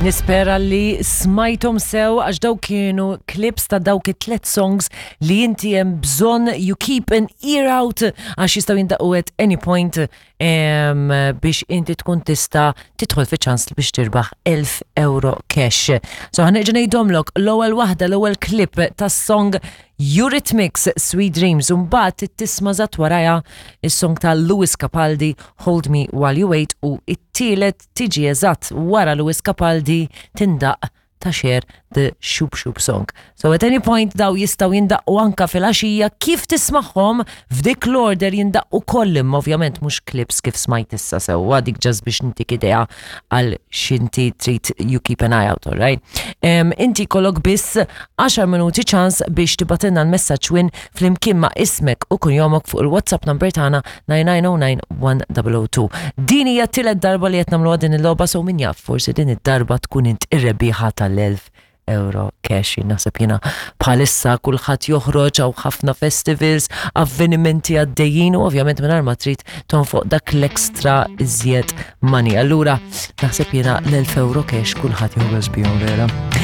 Nispera li smajtom sew għax daw kienu clips ta' dawk it-tlet songs li inti hemm bżonn you keep an ear out għax jistgħu jindaqqu at any point em, biex inti tkun tista' tidħol fi ċans biex tirbaħ 1000 euro cash. So ħa nerġa' ngħidhomlok l-ewwel waħda l-ewwel clip tas-song Eurythmics Sweet Dreams u mbagħad tisma' eżatt warajha is-song ta' Lewis Capaldi Hold Me While You Wait u it-tielet tiġi eżatt wara Lewis Capaldi tindaq ta' Cher The Shoop Shoop Song. So at any point daw jistgħu jindaqqu anka fil-għaxija kif tismagħhom f'dik l-order jindaqqu koll imma ovvjament mhux clips kif smajt issa sewwa dik just biex ntik idea għal x'inti trid you keep an eye out, alright? Um, inti kollok biss 10 minuti ċans biex tibgħatilna l-messaġġ win flimkien ma' ismek u kunjomok fuq il-WhatsApp number tagħna 9909 Din hija t-tielet darba li qed nagħmluha din il-logħba so min jaf forsi din id-darba tkun int ir-rebbieħa tal-1000 euro cash. Naħseb jiena bħalissa kulħadd joħroġ hawn ħafna festivals, avvenimenti għaddejjin u ovvjament mingħajr ma trid tonfoq dak l-extra iżjed money. Allura naħseb jiena l-1000 euro cash kulħadd joħroġ bihom vera.